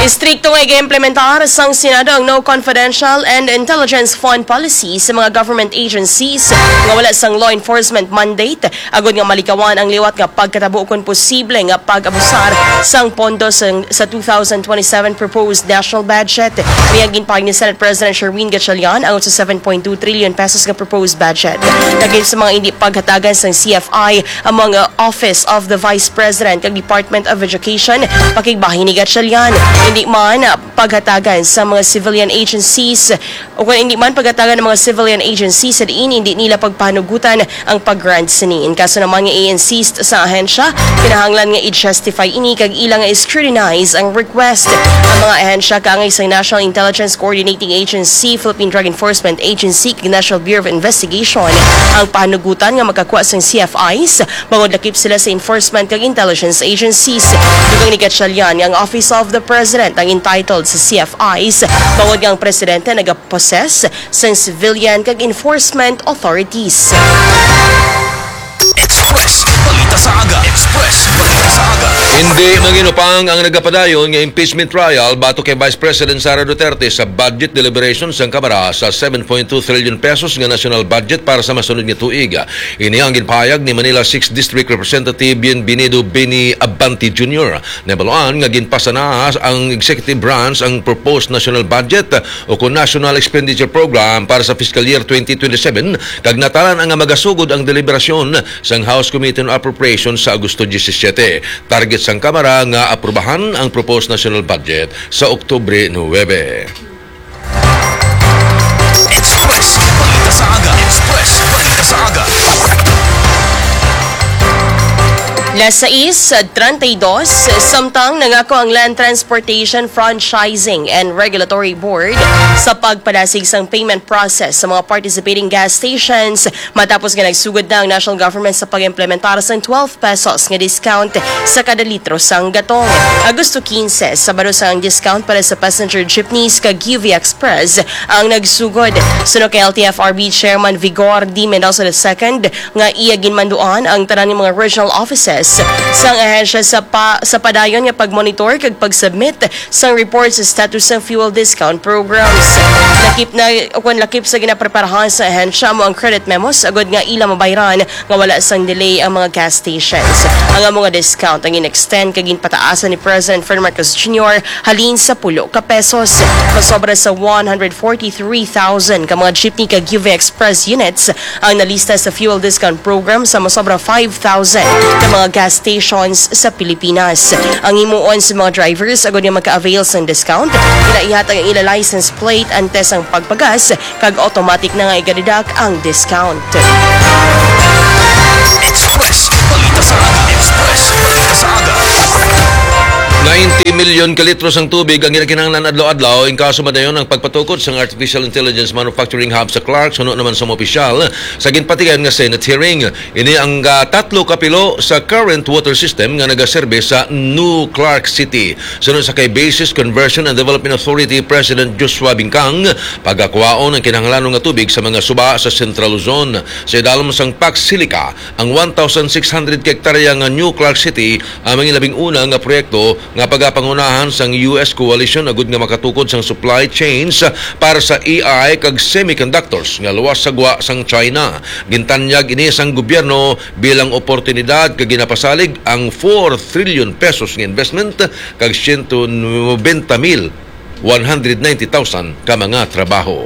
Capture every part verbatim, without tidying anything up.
Strikto nga iga-implementar sang Senado ang no confidential and intelligence fund policy sa mga government agencies nga wala sang law enforcement mandate, agud nga malikawan ang liwat nga pagkatabo kon posible nga pag-abusar sang pondo sang, sa two thousand twenty-seven proposed national budget. Niya ginpahayag ni Senate President Sherwin Gatchalian ang sa seven point two trillion pesos nga proposed budget. Lagip sa mga hindi paghatagan sang C F I, among, uh, Office of the Vice President kag Department of Education, pakigbahin ni Gatchalian. Hindi man, uh, paghatagan sa mga civilian agencies, o kung hindi man paghatagan ng mga civilian agencies sa diin hindi nila pagpanugutan ang pag-grant sini. In kaso naman nga i-insist sa ahensya, kinahanglan nga i-justify ini kag ila nga i-scrutinize ang request. Ang mga ahensya kaangay sa National Intelligence Coordinating Agency, Philippine Drug Enforcement Agency, kag National Bureau of Investigation ang panugutan nga makakuha sang C F Is bangod lakip sila sa enforcement kag intelligence agencies. Dugang ni Gatchalian nga ang Office of the President ang entitled sa C F Is bangod nga ang presidente nagapossess sang civilian kag enforcement authorities. Express. Balita sa aga. Express. Balita sa aga. Hindi manginupang ang nagapadayon nga impeachment trial batok kay Vice President Sara Duterte sa budget deliberation sang Kamara sa seven point two trillion pesos nga national budget para sa masunod nga tuig. Ini ang ginpahayag ni Manila sixth District Representative Bienvenido Benny Abante Junior. Nabaluan nga ginpasa na ang executive branch ang proposed national budget o kon National Expenditure Program para sa fiscal year twenty twenty-seven, kag natalan nga magasugod ang deliberasyon sang House Committee on Appropriations sa Agosto disisiete. Target sang Kamara nga aprubahan ang proposed national budget sa Oktubre nuwebe. Express. Balita sa aga. Express. Balita sa aga. Las sais treinta y dos, samtang nangako ang Land Transportation Franchising and Regulatory Board sa pagpadasig sang payment process sa mga participating gas stations matapos nga nagsugod na ang national government sa pag-implementar sang twelve pesos nga discount sa kada litro sang gatong. Agosto quince, Sabado, sang discount para sa passenger jeepneys kag U V Express ang nagsugod. Suno kay L T F R B Chairman Vigor D. Mendoza the second, nga iya ginmanduan ang tanan nga mga regional offices sang ahensya sa pa, sa padayon nga pagmonitor kag pagsubmit sang report sa status sang fuel discount programs. Lakip na, o kung lakip sa ginapreparahan sa ahensya mo ang credit memos agud nga ila mabayran nga wala sang delay ang mga gas stations. Ang amo nga discount ang in-extend kag ginpataasan ni President Ferdinand Marcos Junior halin sa pulo ka pesos. Masobra sa one hundred forty-three thousand ka mga jeepney kag U V Express units ang nalista sa fuel discount program sa masobra five thousand ka mga gas stations sa Pilipinas. Ang himuon sa mga drivers agud nga maka-avail sang discount, kinaihatag ang ila license plate antes ang pagpagas kag automatic na nga iga-deduct ang discount. Express. Balita sa aga. Express. Balita sa aga. Ninety million ka litros ang tubig ang ginakinahanglan adlaw-adlaw in kaso madayon ang pagpatukod sang artificial intelligence manufacturing hub sa Clark, suno naman sa mga opisyal sa ginpatigayon nga Senate hearing. Ini ang, ah, tatlo ka pilo sa current water system nga nagaserbe sa New Clark City. Suno sa kay Bases Conversion and Development Authority President Joshua Bingkang, pagakwaon ang kinahanglanon nga tubig sa mga suba sa Central Luzon. Sa idalom sang Pax Silica, ang one thousand six hundred ka hektarya nga New Clark City ang mga labing una nga proyekto nga pagapangunahan sang U S coalition agud nga makatukod sang supply chains para sa A I kag semiconductors nga luwas sa gwa sang China. Gintanyag ini sang gobyerno bilang oportunidad kag ginapasalig ang four trillion pesos nga investment kag siyento nobenta mil one hundred ninety thousand ka mga trabaho.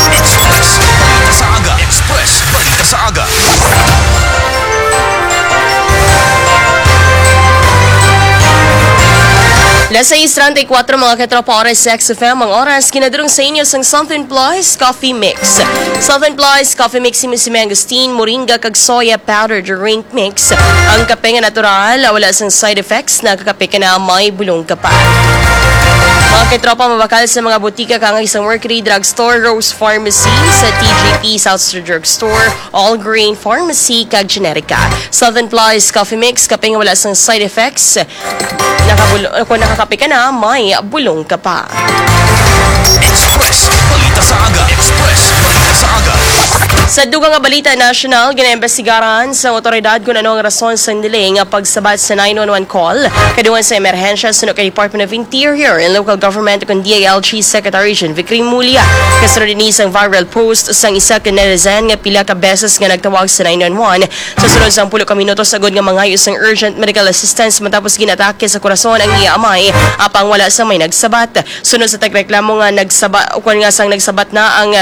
Express. Balita sa aga. Express. Balita sa aga. Las sais treinta y cuatro, mga katropa, oras sa X F M ang oras. Ginadurong sa inyo sang Something Plus Coffee Mix. Something Plus Coffee Mix, himo si Mangosteen, moringa, kag soya powder drink mix. Ang kape nga natural, wala sang side effects, nakakape ka na, may bulong ka pa. Mga katropa, mabakal sa mga butika kaangay sa Mercury Drugstore, Rose Pharmacy, sa T G P, South Star Drugstore, All Grain Pharmacy, kag Generica. Southern Plus Coffee Mix, kape nga wala sang side effects. Nakabul-, kung nakakape ka na, may bulong ka pa. Express. Balita sa aga. Express. Balita sa aga. Sa dugang nga balita nasyonal, ginaimbestigaran sa awtoridad kung ano ang rason sa nili nga pagsabat sa nine one one call kadungan sa emerhensya suno kay Department of Interior and Local Government o kon D I L G Secretary Jean Vic Remulla. Kasunod ini sang viral post sang isa ka netizen nga pila ka beses nga nagtawag sa nine one one sa sulod sang pulo ka minutos agud nga mangayo sang urgent medical assistance matapos ginatake sa korason ang iya amay, apang wala sang may nagsabat. Sunod sa tagreklamo nga nagsaba-, ukon nga sang nagsabat na ang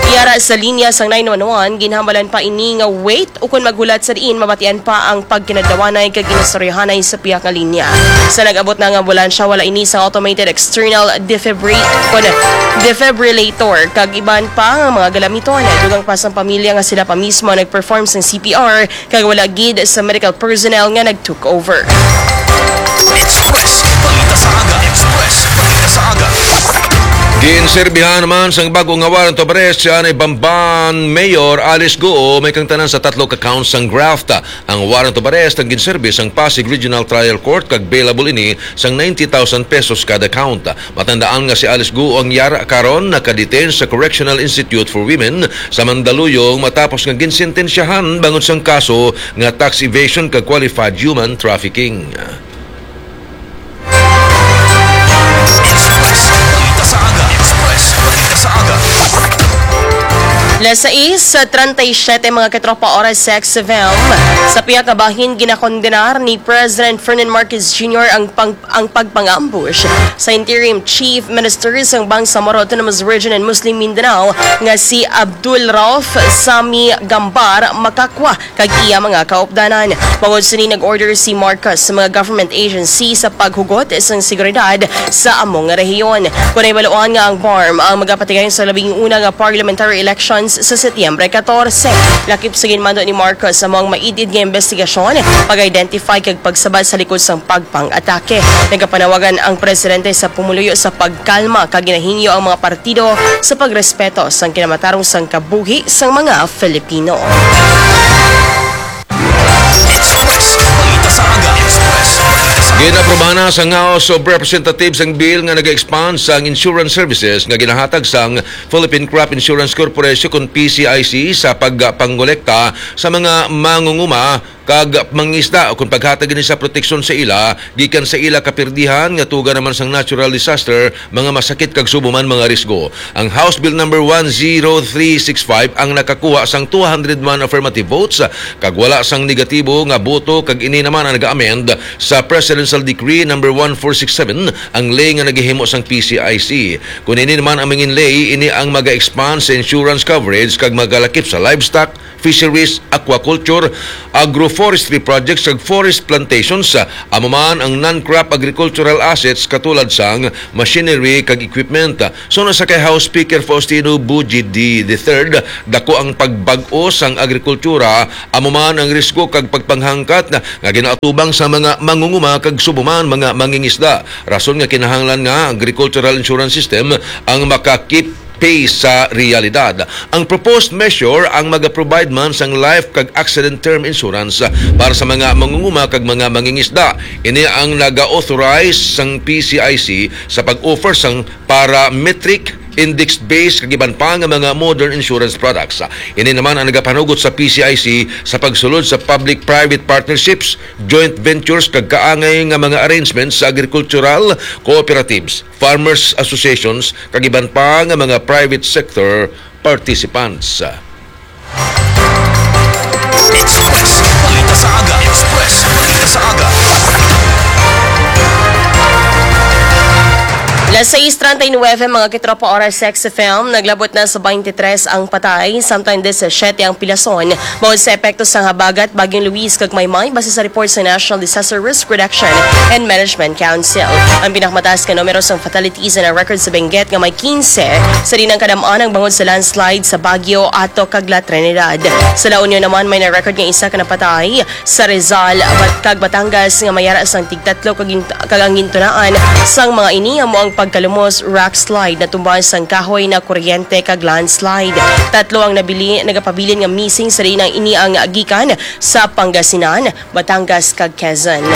yara sa linya sang nine one one, ginhambalan pa ini nga wait ukon maghulat sa diin mabatian pa ang pagkinadlawanay kag inistoryahanay sa pihak nga linya. Sa nag-abot na nga ambulansya, wala ini sa automated external defibri-, kon defibrillator kag iban pa nga mga galamiton. Dugang pa sang pamilya nga sila pa mismo ang nag-perform sang C P R kag wala gid sa medical personnel nga nag-took over. Express Balita sa Aga. Express Balita sa Aga. Ginserbihan naman sang bago nga warrant of arrest si Anay Bamban Mayor Alice Guo may kang tanan sa tatlo ka counts sang graft. Ang warrant of arrest ang ginserbi sang Pasig Regional Trial Court kag bailable ini sang ninety thousand pesos kada count. Matandaan nga si Alice Guo ang yara karon nakadetain sa Correctional Institute for Women sa Mandaluyong matapos nga ginsentensyahan bangod sang kaso nga tax evasion kag qualified human trafficking. Express Balita sa Aga. Express Balita sa Aga. Las sais treinta y siete, mga katropa, oras sa X F M. Sa pihak nga bahin, ginakondenar ni President Ferdinand Marcos Junior ang pang-, ang pagpang-ambush sa interim chief minister sang Bangsamoro Autonomous Region and Muslim Mindanao nga si Abdul Rauf Sami Gambar Makakwa kag iya mga kaupdanan. Bangod sini, nag-order si Marcos sa mga government agency sa paghugot sang seguridad sa amo nga rehiyon. Kon nahibaluan nga ang BARMM ang magapatigayong sa labing una nga parliamentary elections sa Setyembre catorce, lakip sa ginmando ni Marcos amo ang maid-id nga investigasyon, pag-identify kag pagsabat sa likod sang pagpang-atake. Nagapanawagan ang presidente sa pumuluyo sa pagkalma kag ginahingyo ang mga partido sa pagrespeto sang kinamatarong sang kabuhi sang mga Filipino. Express Balita sa Aga. Express Balita sa Aga. Ginaprobahan na sang House of Representatives ang bill nga nag-expand sang insurance services nga ginahatag sang Philippine Crop Insurance Corporation kon P C I C sa pagpangolekta sa mga mangunguma kag mangisda, kon paghatag ini sa proteksyon sa ila gikan sa ila kapirdihan nga tuga naman sang natural disaster, mga masakit kag subong man mga risgo. Ang House Bill Number one zero three six five ang nakakuha sang two hundred one affirmative votes kag wala sang negatibo nga boto, kag ini naman ang nag-amend sa Presidential Decree Number one four six seven, ang ley nga nagahimo sang P C I C. Kon ini naman ang mangin ley, ini ang maga-expand sa insurance coverage kag magalakip sa livestock, fisheries, aquaculture, agroforestry projects, kag forest plantations, amo man ang non-crop agricultural assets katulad sang machinery kag equipment. Suno sa kay House Speaker Faustino Bujidi the third, dako ang pagbag-o sang agrikultura, amo man ang risgo kag pagpanghangkat nga ginaatubang sa mga mangunguma kag subong man mga mangingisda. Rason nga kinahanglan nga agricultural insurance system ang makakip pay sa realidad. Ang proposed measure ang maga-provide man sang life kag accident term insurance para sa mga mangunguma kag mga mangingisda. Ini ang naga-authorize sang P C I C sa pag-offer sang parametric, index-based kag iban pa nga mga modern insurance products. Ini naman ang nagapanugot sa P C I C sa pagsulod sa public-private partnerships, joint ventures kag kaangay nga mga arrangements sa agricultural cooperatives, farmers associations, kag iban pa nga mga private sector participants. Express Balita sa Aga. Express Balita sa Aga. Las sais treinta y nueve, mga kitropa, oras sa X F M, naglabot na sa twenty-three ang patay, samtang disisiete ang pilason. Bangod sa epekto sang habagat, Bagyong Luis kag Maymay, base sa report sa National Disaster Risk Reduction and Management Council. Ang pinakamataas nga numero sang fatalities na record sa Benguet nga may quince, sa dinang kadam-an ang bangod sa landslide sa Baguio, Ato kag La Trinidad. Sa La Union naman, may na-record nga isa ka napatay sa Rizal, Bat-, kag Batangas nga may ara sang tigtatlo kag gin-, kag ang gintunaan sang mga ini amo ang pag Kalumos rock slide, natumba sang kahoy na kuryente kag landslide. Tatlo ang nabili, nagapabilin nga missing, sa diin ang ini ang gikan sa Pangasinan, Batangas kag Quezon.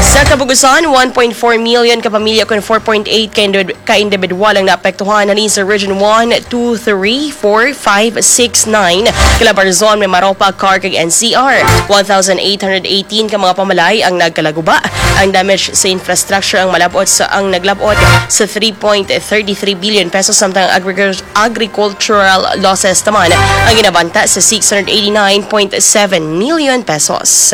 Sa kabugusan, one point four million ka pamilya kon four point eight ka, indi- ka individual ang naapektuhan halin sa Region one, two, three, four, five, six, nine, Calabarzon, Mimaropa, Clark kag N C R. One thousand eight hundred eighteen ka mga pamalay ang nagkalaguba. Ang damage sa infrastructure ang malabot sa, ang naglabot sa three point thirty three billion pesos, samtang ang agriculture agricultural losses naman ang ginabanta sa six hundred eighty-nine point seven million pesos.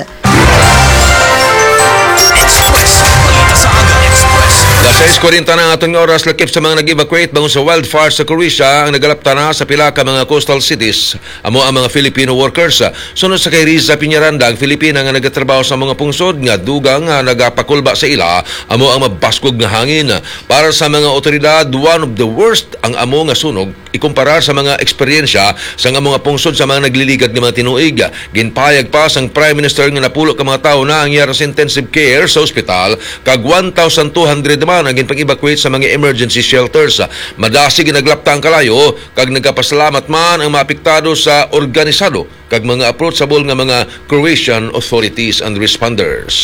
Express. Balita sa Aga Express. Alas sais kwarenta na aton nga oras, lakip sa mga nag-evacuate bangon sa wildfire sa Croatia ang nagalapta na sa pila ka mga coastal cities. Amo ang mga Filipino workers. Sunod sa kay Riza Piñaranda, ang Filipina nga nagatrabaho sa mga pungsod nga dugang nga nagapakulba sa ila, amo ang mabaskog nga hangin. Para sa mga otoridad, one of the worst ang amo nga sunog ikumparar sa mga eksperyensya sa nga mga pungsod sa mga nagliligad nga mga tinuig. Ginpahayag pa sang Prime Minister nga napulo ka mga tawo na ang yara sa intensive care sa ospital, kag one thousand two hundred naman ang ginpang-evacuate sa mga emergency shelters. Madasig ginaglapta ang kalayo, kag nagapasalamat man ang mga apektado sa organisado kag mga approachable nga mga Croatian authorities and responders.